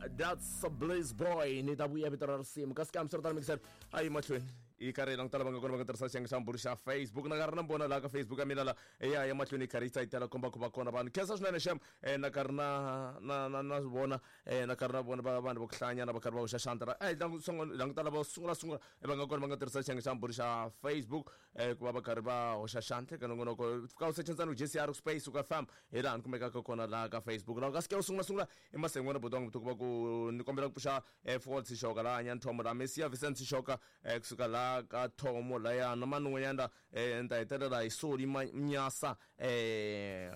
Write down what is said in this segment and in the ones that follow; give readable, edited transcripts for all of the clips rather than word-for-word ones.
That's a Blaze Boy ni ta vuya vito ra risimu kasi kambe swi ri tano mixer a yi mahlweni yi karhi yi languta lava nga kona va nga tirhisa xiyenge xa mbulu xa Facebook na karhi na vona laha ka Facebook ya mina la ya ya mahlweni yi karhi yi tsayitela komba ku va kona vanhu khensa swinene xem na karhi na na na na vona na karhi na vona va vanhu va ku hlanyana va karhi va hoxa xandla ra languta lava sungula sungula va nga kona va nga tirhisa xiyenge xa mbulu xa Facebook ku va va karhi va hoxa xandla eka nongonoko fika u secha ntsena JCR space u ka fam hi laha ni kumekaka kona laha ka Facebook laha ka sike u sungula sungula i masengwana buti wangu ku va ku ni kombela ku pfuxa Ford Sishoka laha nyani Thomo laha Messia Vincent Sishoka kusuka laha ka Thomo laya na mani un'wanyana la ni ta hetelela hi Soli Mnyasa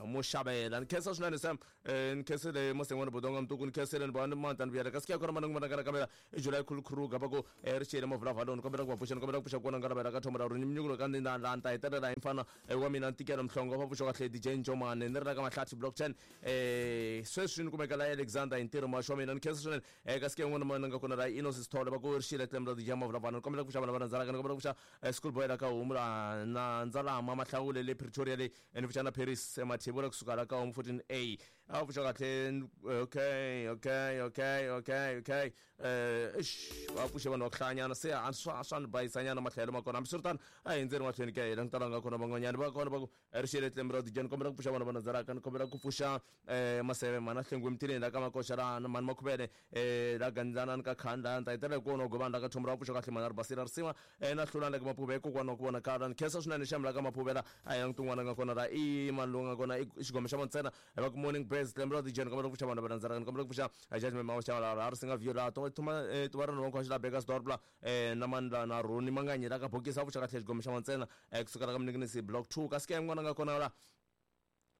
Muxavela ni khensa swinene Sam ni khensile masengwana buti wanga mtuku ni khensile ni vona ni manta ni vuyela kasi ke kona mani n'wana kana kamela i July Khulu Kruger va ku ri xiyele mavulavuloni kombela ku va pfuxa ni kombela ku pfuxa kona nga lavela ka thomo ra ri minyukulo ka ni na laha ni ta hetelela hi mfana wa mina ntikelo mhlongo va pfuxa kahle DJ Njomane ni ri la ka Mahlathi block 10 sweswi ni kumeka la Alexander hi ntirho maxo wa mina ni khensa swinene kasi ke n'wana mana nga kona la Innocent Sithole va ku ri xiyele tlem ra DJ mavulavuloni ni kombela ku pfuxa vana va rhandzalaka ni kombela ku pfuxa school boy la ka homu la na ndzalama mahlawule le Pretoria le ni pfuxa na Paris Mathebula kusuka la ka homu 14A a pfuxa kahle okay okay okay okay okay eish va pfuxe vanhu va ku hlayanyana se a swa swa ni bayisanyana matlhelo ma kona hambiswiritano a hi hundzeni mahlweni ke hi langutana nga kona van'wanyana va kona va ku ri xiyele tlembe ra dijani kombela ku pfuxa vanhu va nandzalaka ni kombela ku pfuxa maseve mhana hlengwe mtileni la ka makoxa la mhani makhuvele la gandzana ni ka khanda ni ta hetelela hi ku vona govani la ka thombo ra pfuxa kahle mhana ri basile ri sima na hlulani la ka maphuve kokwana wa ku vonakala ni khensa swinene xamu la ka maphuvela a hi languti un'wana nga kona la i mani lowu nga kona i xigome xa ntsena va ku morning birds tlembe ra dijani kombela ku pfuxa vanhu va nandzalaka ni kombela ku pfuxa judgment ma xava la ri singa viola to thuma tuva rona va la Burgersdorp la na mani la na Roni Manganyi la ka bokisi a pfuxa kahle xigome xa ntsena kusukela ka Mninginisi block 2 kasi ke n'wana nga kona la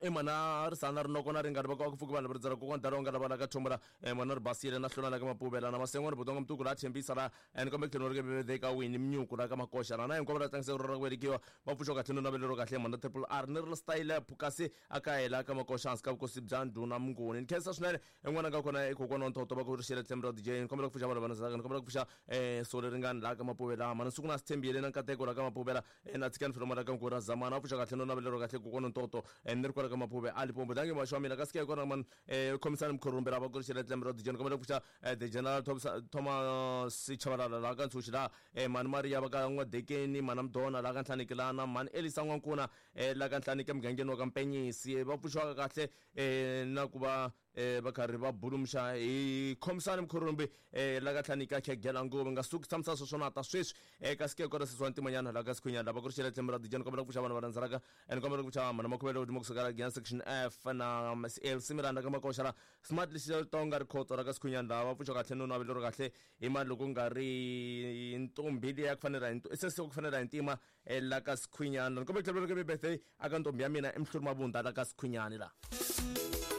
i mana ri sana rinoko na ringani va ku pfuki vanhu va ridzela kokwana dalo nga lava la ka thombo la mana ri basile na hlula la ka mapuvela na masengwana butonga mtuku la tshembisa la ni kombe tlhelo ri ke ka wini mnyuku la ka makoxa la na hinkwavo la tlangisa ra ku velekiwa va pfuxa kahle no navelero kahle mana triple R ni ri style kasi a ka hela ka makoxa hansi ka vukosi bya ndhuna Mnguni ni khensa swinene en'wana ka kona i kokwana wa Ntoto va ku ri xele tlhelo ra DJ ni kombela ku pfuxa vanhu va ndzaka ni kombela ku pfuxa sole ringani la ka mapuvela mana siku na sithembile na nkateko la ka mapuvela na tshikani filoma la ka nkura zamana a pfuxa kahle no navelero kahle kokwana Ntoto ni ri kwala ka maphuve a Limpopo dangi maxo wa mina kasi ke kona man khomisani mkhorumbe la va ku ri xele tlhelo ra DJ ni kombela ku pfuxa the general Thomas Chabalala la ka Ntshuxi la mani Maria va ka N'wadekeni mana Mdona la ka Ntlhanikilana mani Elisa N'wankuna la ka Nhlanike mugangeni wa ka Mpenyisi va pfuxiwaka kahle na ku va va karhi va bulumuxa hi khomisani mkhorumbi la ka Nhlanika khegela nguvu nga suki tshamisa sweswo na ta sweswi kasi ke kona sesi wa ntimanyana la ka Sikhunyana lava ku ri xele tlhelo ra dijani kombela ku pfuxa vanhu va rhandzalaka ni kombela ku pfuxa mhana makhuvele godimo kusuka la Giyani section F na LC Miranda ka makoxa la Smart Lexi Tonga Rikhotso ra ka Sikhunyana lava va pfuxa kahle no navelo ro kahle hi mali loko nga ri ntombi liya ku fanela hi sesi ku fanela hi ntima la ka Sikhunyana ni kombela ku tlhela ku ri birthday aka ntombi ya mina i Mhluri Mabunda la ka Sikhunyani la.